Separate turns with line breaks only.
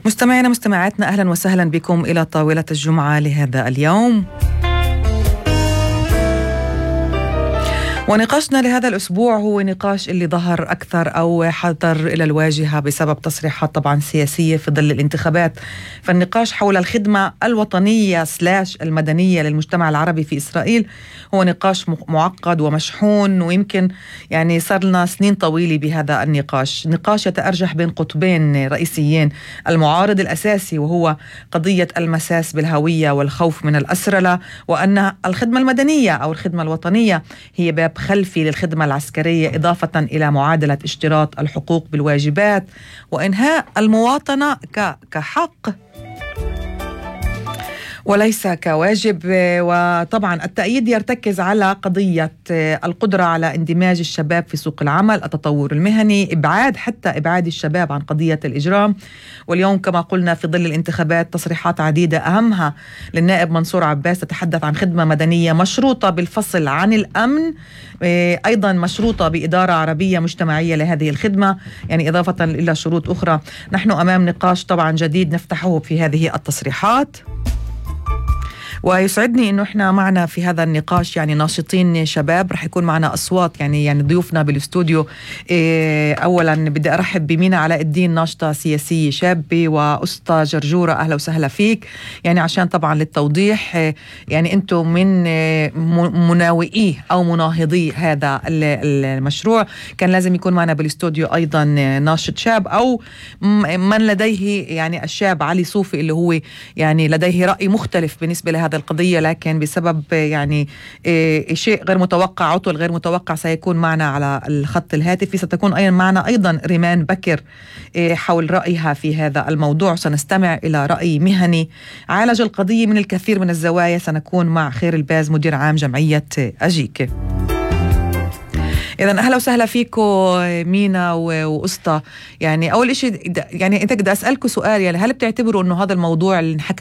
مستمعينا مستمعاتنا، أهلا وسهلا بكم إلى طاولة الجمعة لهذا اليوم. ونقاشنا لهذا الأسبوع هو نقاش اللي ظهر أكثر أو حضر إلى الواجهة بسبب تصريحات طبعا سياسية في ظل الانتخابات. فالنقاش حول الخدمة الوطنية / المدنية للمجتمع العربي في إسرائيل هو نقاش معقد ومشحون، ويمكن يعني صار لنا سنين طويلة بهذا النقاش. نقاش يتأرجح بين قطبين رئيسيين: المعارض الأساسي وهو قضية المساس بالهوية والخوف من الأسرلة، وأن الخدمة المدنية أو الخدمة الوطنية هي باب خلفي للخدمة العسكرية، إضافة إلى معادلة اشتراط الحقوق بالواجبات وإنهاء المواطنة كحق وليس كواجب. وطبعا التأييد يرتكز على قضية القدرة على اندماج الشباب في سوق العمل، التطور المهني، إبعاد الشباب عن قضية الإجرام. واليوم كما قلنا في ظل الانتخابات تصريحات عديدة أهمها للنائب منصور عباس تتحدث عن خدمة مدنية مشروطة بالفصل عن الأمن، أيضا مشروطة بإدارة عربية مجتمعية لهذه الخدمة، يعني إضافة إلى شروط أخرى. نحن أمام نقاش طبعا جديد نفتحه في هذه التصريحات، ويسعدني انه احنا معنا في هذا النقاش يعني ناشطين شباب. رح يكون معنا اصوات يعني ضيوفنا بالاستوديو. اولا بدي ارحب بمينا علاء الدين، ناشطه سياسيه شابه، واسطى جرجوره، اهلا وسهلا فيك. يعني عشان طبعا للتوضيح، يعني انتم من مناوئي او مناهضي هذا المشروع. كان لازم يكون معنا بالاستوديو ايضا ناشط شاب او من لديه يعني الشاب علي صوفي اللي هو يعني لديه راي مختلف بالنسبه لهذا القضية، لكن بسبب يعني شيء غير متوقع، عطل غير متوقع، سيكون معنا على الخط الهاتفي. ستكون أيضا معنا أيضا ريمان بكر حول رأيها في هذا الموضوع. سنستمع إلى رأي مهني عالج القضية من الكثير من الزوايا. سنكون مع خير الباز مدير عام جمعية أجيك. إذن أهلا وسهلا فيكم مينا وأسطى. يعني أول إشي يعني أنت بدي أسألكم سؤال، يعني هل بتعتبروا أنه هذا الموضوع اللي نحكى